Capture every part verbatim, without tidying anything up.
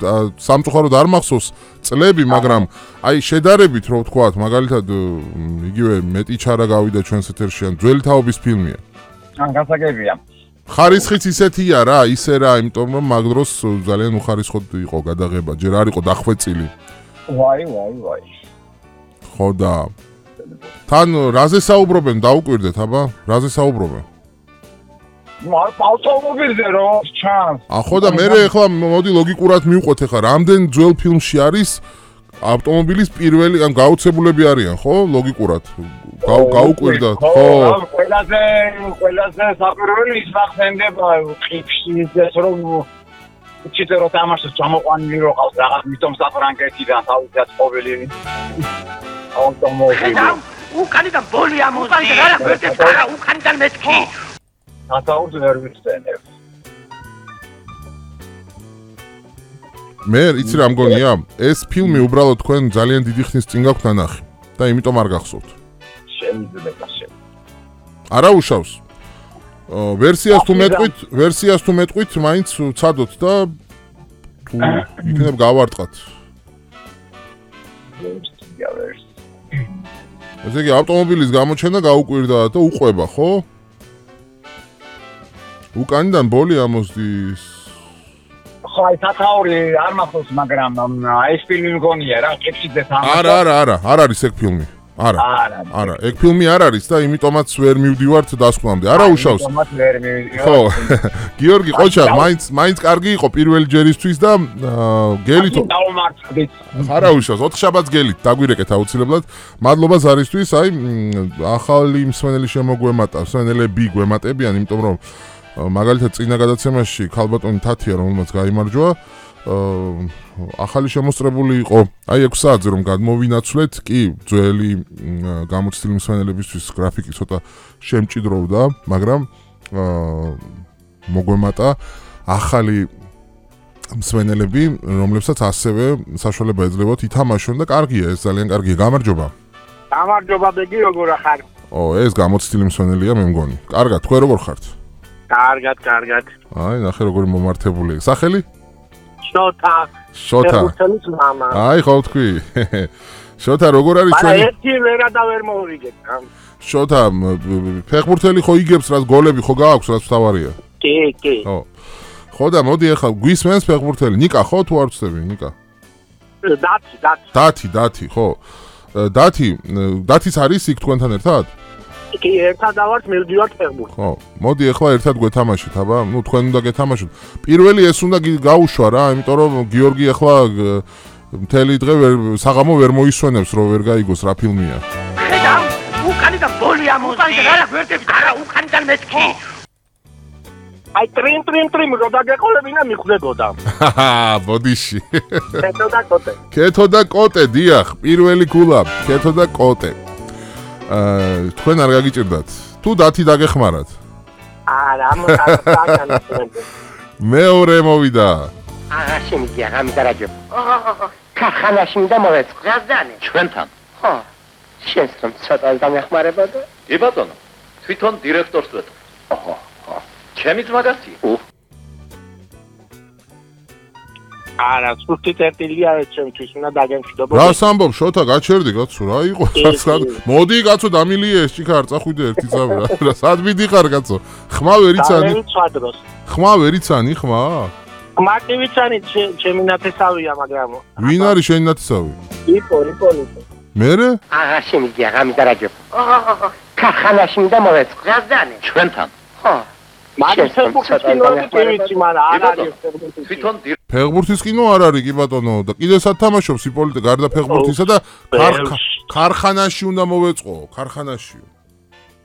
სამწუხაროდ არ მახსოვს წლები, მაგრამ აი შედარებით რო ვთქვათ, მაგალითად იგივე მეტი ჩარა გავიდა ჩვენს ეთერში, ან ძველი თაობის ფილმია. ან გასაგებია. ხარისხიც ისეთია რა, ისე რა, იმიტომ რომ მაგ დროს ძალიან უხარისხოდ იყო გადაღება, ჯერ არ იყო დახვეწილი. ვაი, ვაი, ვაი. ხო და თან რაზე საუბრობენ, დაუკვირდეთ, აბა? რაზე საუბრობენ? მარ ავტომობილზე რო ჩანს. ა ხო და მე ახლა მოდი ლოგიკურად მივყვეთ ახლა, რამდენ ძველ ფილმში არის ავტომობილის პირველი, ან გაუცებულები არიან, ხო? ლოგიკურად. გაუკვირდათ, ხო? ყველაზე ყველაზე საფრთხელი ის მახსენდება ყიფში ის რომ უჩიტე რო თამაშს ჩამოყვანილი რო ყავს რაღაც მითომ საფრანგეთიდან თავისად ყოველი ავტომობილი. უკანიდან ბოლი ამოდი. რა ვერტებს არა უკანიდან მეთქი. ათაურს ვერ ვიხსენებ. მე იცი რა მგონია, ეს ფილმი უბრალოდ თქვენ ძალიან დიდი ხნის წინ გაქვთ ნანახი და იმიტომ არ გახსოვთ. შეიძლება შეიძლება. არა უშავს. ვერსიას თუ მეტყვით, ვერსიას თუ მეტყვით, მაინც ვცადოთ და თუ იქნებ გავარტყათ. ესე იგი ავტომობილის გამოჩენა გაუკვირდა და უყვება, ხო? უკანიდან ბოლი ამოსდის. ხო, აი თათაური არ მახსოვს, მაგრამ ეს ფილმი მგონია რა, ყიფშიძე თამაშობს. არა, არა, არა, არ არის ეგ ფილმი. არა. არა, ეგ ფილმი არ არის და იმიტომაც ვერ მივდივართ დასკვნამდე. არა უშავს. იმიტომაც ვერ მივდივართ. ხო. გიორგი ყოჩა, მაინც მაინც კარგი იყო პირველი ჯერისთვის და გელით. დავმარცხდით. არა უშავს, ოთხ შაბათს გელით დაგვირეკეთ აუცილებლად. მადლობა ზარისთვის, აი ახალი მსმენელი შემოგვემატა, მსმენელები გვემატებიან, იმიტომ რომ მაგალითად წინა გადაცემაში ქალბატონი თათია, რომელმაც გაიმარჯვა, ახალი შემოსწრებული იყო. აი ექვს საათზე რომ გადმოვინაცვლეთ, კი, ძველი გამოცდილი მსმენელებისთვის გრაფიკი ცოტა შემჭიდროვდა, მაგრამ მოგვემატა ახალი მსმენელები, რომლებსაც ასევე საშუალება ეძლებათ ითამაშონ და კარგია, ეს ძალიან კარგია. გამარჯობა. გამარჯობა, ბეგი, როგორ ხარ? ო, ეს გამოცდილი მსმენელია, მე მგონი. კარგად, თქვენ როგორ ხართ? კარგად, კარგად. აი, ნახე როგორი მომართებული. სახელი? შოთა. შოთა. ფეხბურთელის მამა. აი, ხო თქვი. შოთა, როგორ არის ჩვენი? არა, ერთი ვერა და ვერ მოვიგეთ. შოთა, ფეხბურთელი ხო იგებს, რაც გოლები ხო გააქვს, რაც თავარია? კი, კი. ხო. ხო და მოდი ახლა გვისმენს ფეხბურთელი. ნიკა ხო თუ არ ვწდები, ნიკა? დათი, დათი. დათი, დათი, ხო. დათი, დათიც არის იქ თქვენთან ერთად? კი, ერთად ავართ, მივდივართ ფეხბურთს. ხო, მოდი ახლა ერთად გვეთამაშით, აბა, ნუ თქვენ უნდა გეთამაშოთ. პირველი ეს უნდა გაუშვა რა, იმიტომ რომ გიორგი ახლა მთელი დღე საღამო ვერ მოისვენებს, რომ ვერ გაიგოს რა ფილმია. ხედავ, უკანიდან ბოლი ამოდი. რა ვერტებს არა უკანიდან მეთქი. აი ტრიმ ტრიმ ტრიმ რო დაგეყოლებინა მიხვდებოდა. ჰაჰა, ბოდიში. კეთო და კოტე. კეთო და კოტე, დიახ, პირველი გულა, კეთო და კოტე. აა, თქვენ არ გაგიჭirdათ. თუ დათი დაგეხმარათ. არა, ამოწაკანა. მეორე მოვიდა. აა, შემიგია, გამიდარაჯო. ქარხანაში მინდა მოვეწყო. გაზდანი. ჩვენთან. ხო. შენს რომ ცოტა დამეხმარებოდა? კი ბატონო. თვითონ დირექტორს ვეთქვი. ოჰო. ჩემი ძმაგაცია. არა, სულ წერტილია ჩემთვის, უნდა დაგემშვიდობო. რას ამბობ, შოთა, გაჩერდი, კაცო, რა იყო? მოდი, კაცო, დამილია ეს ჭიქა, არ წახვიდე ერთი წავი რა. სად მიდიხარ, კაცო? ხმა ვერ იცანი? ხმა ვერ იცანი, ხმა? ხმა კი ვიცანი, ჩემი ნათესავია, მაგრამ. ვინ არის შენი ნათესავი? იპო, იპო, იპო. მერე? აა, შემიგია, გამიდარაჯო. ქარხანაში მინდა მოვეწყო. გაზდანი. ჩვენთან. ხო. მაგრამ ფეხბურთის კინო კი ვიცი, მაგრამ არ არის ფეხბურთის. თვითონ ფეხბურთის კინო არ არის კი ბატონო და კიდე სად თამაშობს იპოლიტე გარდა ფეხბურთისა და ქარხანაში უნდა მოვეწყო, ქარხანაშიო.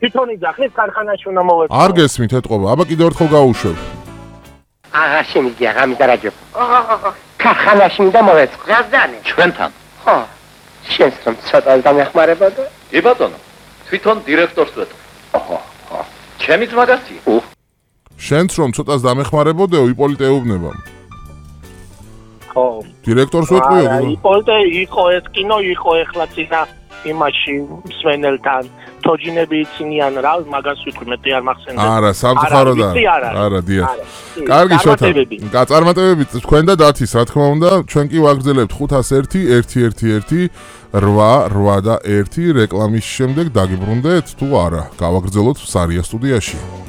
თვითონ იძახის ქარხანაში უნდა მოვეწყო. არ გესმით ეთყობა, აბა კიდევ ერთხელ გაუშვებ. აა, შემიგია, გამიდარაჯო. ქარხანაში მინდა მოვეწყო. გაზდანი. ჩვენთან. ხო. შენს რომ ცოტა დამეხმარებოდა? კი ბატონო. თვითონ დირექტორს ვეთქვი. ოჰო. ჩემი ძმაგაცია. შენც რომ ცოტას დამეხმარებოდეო, იპოლიტე ეუბნება. ხო. დირექტორს ვეთყვიო? იპოლიტე იყო ეს კინო, იყო ეხლა წინა იმაში მსვენელთან. თუ თოჯინები იცინიან რა მაგას ვიტყვი მეტი არ მახსენდება არა სამწუხაროდ არა არა დიახ კარგი შოთა გაწარმოებები თქვენ და დათის რა თქმა უნდა ჩვენ კი ვაგრძელებთ ხუთას ერთი ერთი ერთი ერთი რვა რვა და ერთი რეკლამის შემდეგ დაგიბრუნდეთ თუ არა გავაგრძელოთ სარია სტუდიაში